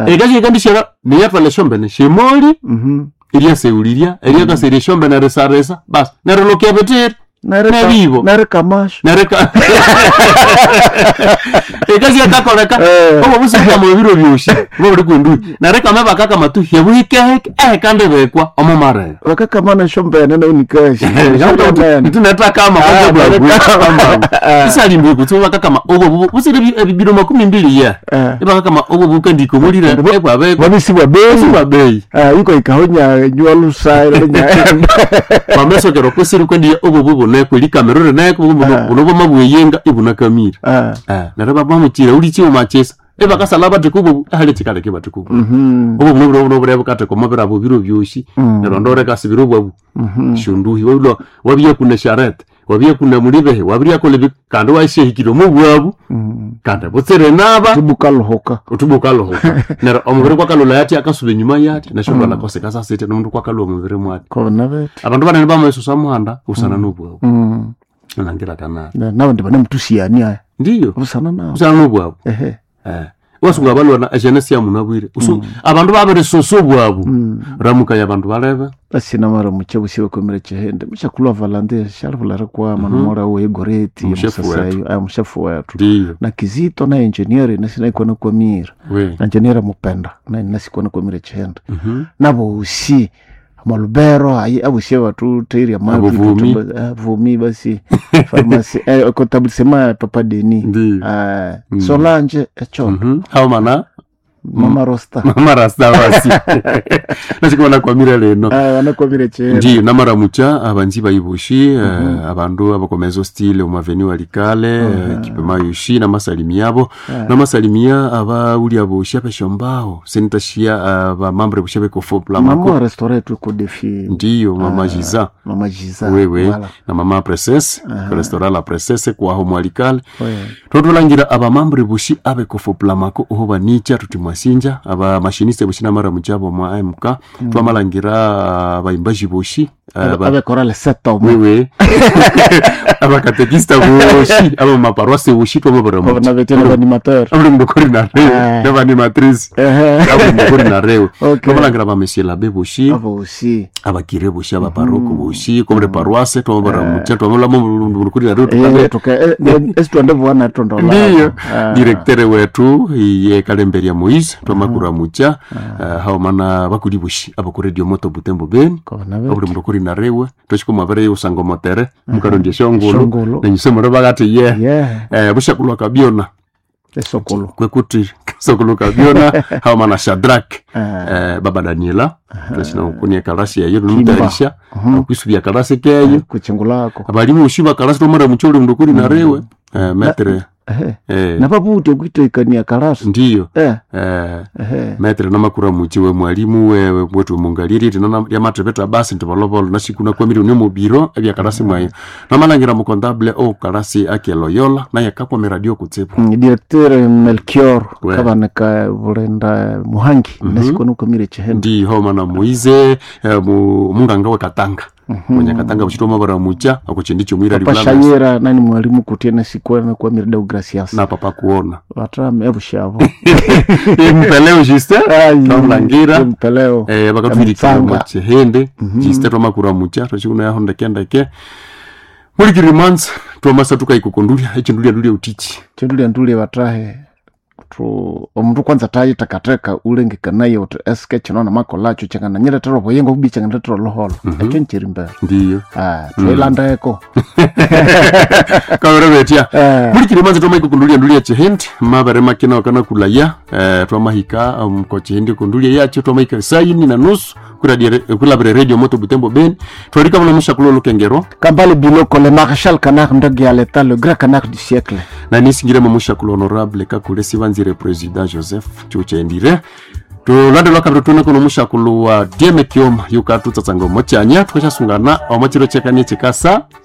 Ekasi ekandishara niyatwala esyombene syemoli eryaseghulirya eryakaserya esyombene erisarisa basi neryo lokya bitiri Nebibo. Nerikamasho. Nereka ekasi yakakoleka. Eh. Obo busikama ebiro byosi bobuli kwendui nerekama bakakama tu hyebuhikehike ehekandi bekwa omo marere. Vakakamana esyombene nayo nikashi. Ntinetakama. Ah, nereka- isalimbi kutsi bakakama obo busire ebibiro 20 ye. Eh. Ibakakama obo bukandika omulire ebwabekwa. Vabisibwa bei. Sibwa bei. Iko ikahonya nywa lusairo nyaenda. Wamesokera kusiri kwendiya obo buboneko likamero rineko Ah. buno bwamabweyenga ibunakamire. Neryo babamuchira ulichiwo machisa ebakasala batheka obo ahali chikaleke batheka obo obo buno buno buno bukatheka omubiri abo biro byosi. Neryo ndoreka sibiro bwabu shunduhi wabilo wabiya kuna sharete wabiya kuna mulibehe wabiryakola ebi kandi washehikire omu bwabu kandi butsire naba. Tubukaluhuka. Utubukaluhuka neryo omubiri kwakalula yati akasuba enyuma yati nashondwala kose kasasite nomundu kwakalwa omubiri mwati. Kona bete. Abandu banene bamaisusa muhanda usana nobwabu nangira kana. Nabandi banemutusiani aya. Ndiyo. Busana nabo. Usana nobwabu. Ehe. Wasunga balwana eshene syamunabwire abandu babirisosa obwabu ramukaya abandu balebe. Asina mara muche busibe kwemere chihende mushakulwa valande shalivula kwama nomora we goreti. Omushefu musasayo aya mushefu wetu. Ndiyo. Na kizito na engineer nasina ikona kwamira. We. Na engineer mupenda na nasikona kwamira chihende nabosi malubero ayi abusie batuteirya Abovumi. vumi basi farmasi kontabulisema papa Deni. Ndiyo. Solange echo. Haumana. Mama Rosta. Mama rasta basi nashikona kwamira leno. Anakwamire chihende. Ndiyo namaramucha abanzi bayibushi abandu abakomezo stile omaveni walikale kipema yushi namasalimi yabo namasalimia abawuli boshi abeshombao senitashia abamambre bushi bekofoplamako. Mama restaurant tuko defi. Ndiyo mama Giza. Mama Giza. Wewe. Voilà. Na mama Princesse restaurant la Princesse kwaho mwalikale. Ouais. Totwalangira abamambre bushi abekofoplamako oho banicha tuti mwasinja abamashiniste bushi namaramucha bo mwa AMK twamalangira abaimbaji bushi Abe chorale seto. Wewe abakatekista boshi abamaparoise boshi twamabaramucha. Na vetena animateur. Abuli mukori na rewe. Eh. N'abanimatrice. Ehe. Abuli mukori na rewe. Okay. Twamalangira ba monsieur l'abbé boshi. Abosi. Abakire boshi abaparoko boshi kombre paroisse twamabaramucha twamulamo mukori na rewe tukabe. Tuka esitwande bwana tondola. Ndiyo direktere wetu iye kalemberia Moise twamakuramucha haumana bakuli boshi abakuri moto Butembo Beni. Kona Abuli mukori na rewe twashiko usango motere mukarondya shongolo. Shongolo. Nenyusemero bakati ye. Yeah. Bushakulwa kabyona. Esokolo. Kwekuti sokolo kabyona haumana Shadrak baba Daniela twashina kunia kalasi yayo numutarisha akwisubya kalasi keyo. Kuchingulako. Abalimu ushiba kalasi tomara mucholi mndukuri na rewe metre. Ehe. Eh, Nababuti okuitekania kalasi. Ndiyo. Eh. Eh, Ehe. metre namakura muchi we mwalimu we wetu mungaliri tinona lyamatepeta basi ntivolovolo nashikuna kwamiri ni mubiro ebyakalasi mwayo namalangira mukontable o kalasi akeloyola naye kakwame radio kutsibu. Directeur Melchior. We. Kabaneka bulenda Muhangi nasikona ukamire chihende. Ndi homa na Moize munganga we Katanga mwenye Katanga buchitoma baramucha akuchindi chomwira Papa libulanga. Shayera nani mwalimu kutie nasikona kwamire Deogracias. Na papa kuona. Batrame ebushabo. Mpeleo Justin twamulangira. Mpeleo. Bakatwirikira Mtsanga. muchihende Justin twamakura mucha twachikuna yaho ndeke mulikiri months twamasa tukaikukundulya echindulia ndulia utichi. Chindulia ndulia batahe tu omundu kwanza tayitakateka ulengekanaye uti eske kino namakolacho kyangananyiretera obuyengo bubi kyangandiretera oluholo ekyo nkiri mbere. Ndiyo. Twilandeko. Kawere betya. Eh. Mulikiri manzi twamaikukundulia ndulia chihindi mabere makina wakana kulaya twamahika ko chihindi kundulia yacho twamahika saini na nusu kulabire radio moto Butembo Beni twarika muno mushakulo lukengero. Kambale Biloko le maréchal canard ndoge à l'état le grand canard du siècle. Na nisingiremo mushakulo honorable kakule sibanzire président Joseph chuchendire tulande lwakabiri tune kuno mushakulo wa Dieme Kioma yukatutsatsanga omochanya tukashasungana omochiro chekanie chikasa.